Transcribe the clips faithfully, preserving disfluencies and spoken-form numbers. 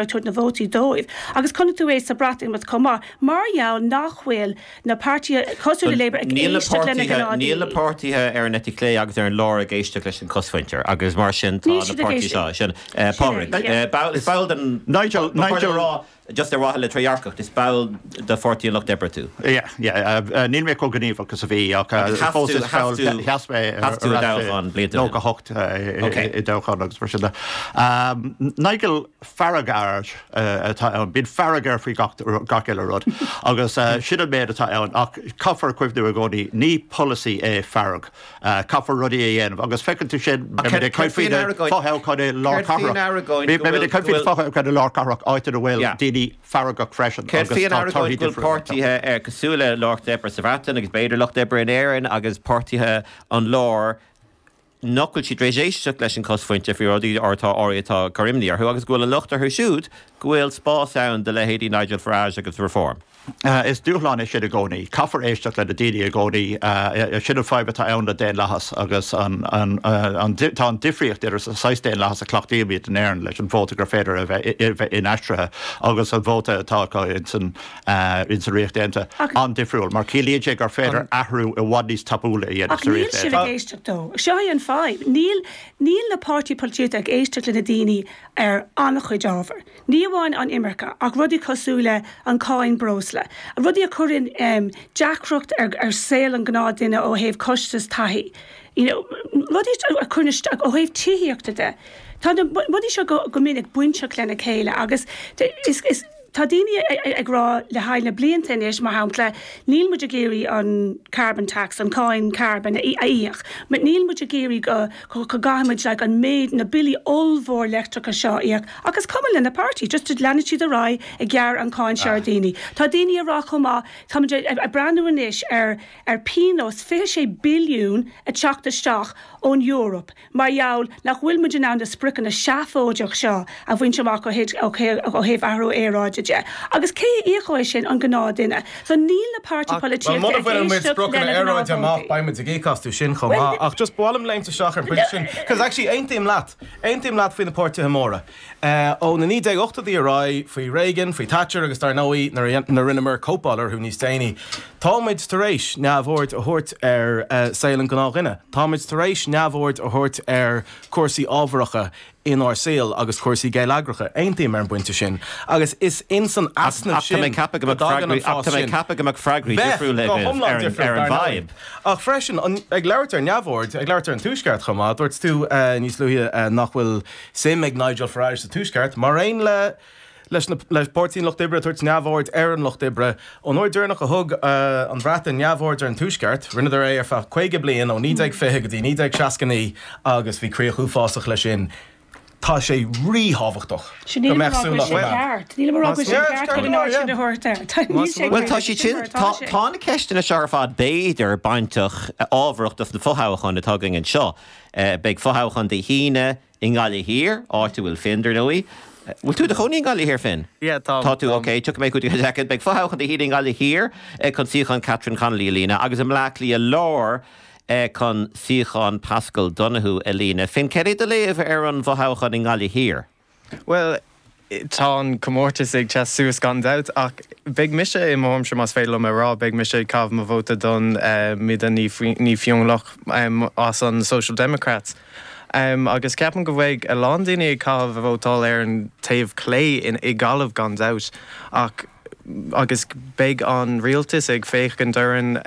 ag tabhairt na vótaí dóibh. Agus chonaic tú é sa Bhreatimeacht chomh maith, mar gheall nach bhfuil na páirtithe cosúil le Labour ag éisteacht lena gnáthdaoine. Níl na páirtithe ar an eite chlé agus ar an lár ag éisteacht leis an chosmhuintir agus mar sin tá na páirtithe seo sin Pádraig. Is ball den Nigel Nigel just ar mhaithe le trédhearcacht, is ball de Pháirtí an Lucht Oibre tú. Yeah, yeah, níl mé chomh gníomhach is a bhí ach fós is ball sheas mé nócha hocht i dtoghchán agus mar sin de. Nigel Farage atá ann, bíonn fearg air faoi gach gach uile rud agus sin an méid atá ann ach caithfear cuimhniú i gcónaí ní polasaí é fearg. Caithfear rudaí a dhéanamh agus feiceann tú sin beimid ag caint faoi na fothoghcháin i lár cathrach. Beimid ag caint faoi na fothoghcháin i lár cathrach áit ina bhfuil daoine feargach freisin agus tá torthaí difriúla. Páirtithe cosúil le Lucht Oibre sa Bhreatain agus b'fhéidir Lucht Oibre in Éirinn agus páirtithe an lár nach bhfuil siad tar éis éisteacht leis an chosmhuintir faoi rudaí atá áirithe atá ag cur imní orthu agus go bhfuil an locht orthu siúd go bhfuil spás ann do leithéidí Nigel Farage agus Reform. Is dúshlán é sin i gcónaí. Caithfear éisteacht le na daoine i gcónaí. Sin an fadhb atá ann le daonlathas agus an, an, an, tá an difríocht idir sa saghas daonlathas a chleachtaímid in Éirinn leis an vóta gur féidir a bheith, bheith inaistrithe agus an vóta atá acu insan, insan Ríocht Aontaithe an-difriúil mar ciallaíonn sé gur féidir athrú i bhfad níos tapúla a dhéanamh sa Ríocht Aontaithe. Ach níl sibh ag éisteacht dó. Seo é an fadhb. Níl, níl na páirtí polaitíochta ag éisteacht le na daoine ar an-chuid ábhar. Ní amháin an imirce ach rudaí cosúil le an cáin breosla, rudaí a chuireann deacracht ar ar saol an gnáthdhuine ó thaobh costas taithí, you know, rudaí a chuireann isteach ó thaobh tithíochta de. Tá na rudaí seo go go minic bainteach lena chéile agus is is tá daoine ag rá le haghaidh na blianta anois, mar shampla, níl muid ag iarraidh an carbon tax, an cáin carbon a íoc, níl muid ag iarraidh go go gcaithfimid like an méid na billí ollmhór leictreachais seo a íoc ach is cuma le na páirtí, just leanann siad ar aghaidh ag gearradh an cáin seo ar daoine. Tá daoine ag rá chomh maith, táimid ag breathnú anois ar ar pionós fiche sé billiún ag teacht isteach ón Eoraip mar gheall nach bhfuil muid in ann na spriocanna seafóideach seo a bhaint amach ó thaobh athrú aeráide de. Agus cé a íocfaidh é sin? An gnáthdhuine. So níl na páirtí polaitíochta ag éisteacht lena ngnáthvótaí. Amach, beidh muid ag íoc astu sin chomh maith. Ach just ba mhaith liom léimt isteach ar an bpointe sin, cos actually aontaím leat, aontaím leat faoi na páirtithe móra. Ó na naoi déag ochtóidí ar aghaidh, faoi Reagan, faoi Thatcher agus dar ndóigh nuair a rinneamar cóipeáil orthu níos déanaí, táimid tar éis neamhaird a thabhairt ar saol an ghnáthdhuine. Táimid tar éis neamhaird a thabhairt ar chúrsaí ábharacha inár saol agus cúrsaí geilleagracha. Aontaím ar an bpointe sin. Agus is ins an easnamh sin go dtagann an fás sin. Ach tá mé ag ceapadh go mbeadh freagraí difriúla agaibh ar an bhfadhb. Ach freisin, ag labhairt ar neamhaird, ag labhairt ar an Tuaisceart chomh maith, dúirt tú níos luaithe nach bhfuil suim ag Nigel Farage sa Tuaisceart, mar aon le leis na le Páirtí an Lucht Oibre ag tabhairt neamhaird ar an Lucht Oibre. Ón uair deireanach a thug an Bhreatain neamhaird ar an Tuaisceart, rinneadar é ar feadh caoga bliain, ó naoi déag fiche go dtí naoi déag seasca naoi, agus bhí críoch uafásach leis sin. Tá sé ríthábhachtach go mbeadh súil á choimeád. Bhuel, tá siad sin, tá tá na ceisteanna seo ar fad b'fhéidir bainteach ábharach dos na fothoghcháin atá againn anseo. Beidh fothoghchán Dé hAoine i nGaillimh Thiar, áit a bhfuil Finn, dar ndóigh. Bhfuil tú i do chónaí i nGaillimh Thiar, Finn? Yeah, táim. Tá tú, ok. Tiocfaidh mé chugat i soicind. Beidh fothoghchán Dé hAoine i nGaillimh Thiar chun suíochán Catherine Connolly a líonadh agus i mBleá Cliath Láir chun suíochán Paschal Donohoe a líonadh. Finn, céard é do léamh ar an bhfothoghchán i nGaillimh Thiar? Bhuel, tá an comórtas ag teas suas gan dabht, ach beidh mise i mo thuairimse, más féidir liom a rá, beidh mise ag caitheamh mo vóta don Mida Ní Fhionnlaoich as an Social Democrats. Agus ceapaim go mbeidh a lán daoine ag caitheamh a vótáil ar an taobh clé i Gaillimh gan dabht, ach agus beidh an rialtas ag féachaint orainn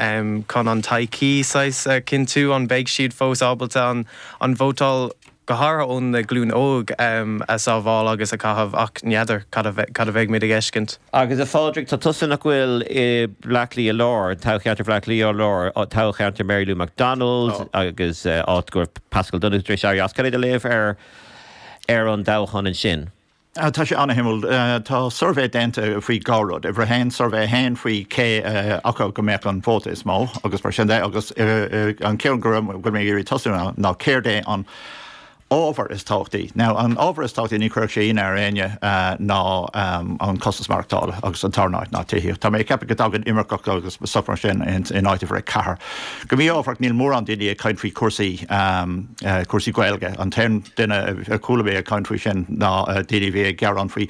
chun an todhchaí saghas a chinntiú, an mbeidh siad fós ábalta an an vótáil, go háirithe ón na glúin óg, a sábháil agus a chaitheamh ach n'fheadar cad a cad a bheidh muid ag fheiscint. Agus a Phádraig, tá tusa nach bhfuil i Bleá Cliath Láir, toghcheantar Bhleá Cliath Láir, toghcheantar Mary Lou McDonald agus áit go raibh Paschal Donohoe tar éis éirí as. Cad é do léamh ar ar an dtoghchán ansin? Tá sé an-shuimiúil. Tá suirbhé déanta faoi dhá rud. Uimhir a haon, suirbhé a haon faoi cé acu go mbeadh an vóta is mó agus mar sin de agus an ceann go bhfuil mé ag iarraidh tosú ná céard é an ábhar is tábhachtaí. Now an ábhar is tábhachtaí ní chuirfeadh sé ionadh ar éinne ná an costas maireachtála agus an tarna áit ná tithíocht. Tá mé ag ceapadh go dtagann imirceach agus stuff mar sin in áit uimhir a ceathair. Go mí-ámharach níl mórán daoine ag caint faoi chúrsaí cúrsaí Gaeilge. An t-aon duine a chuala mé ag caint faoi sin ná daoine a bhí ag gearán faoi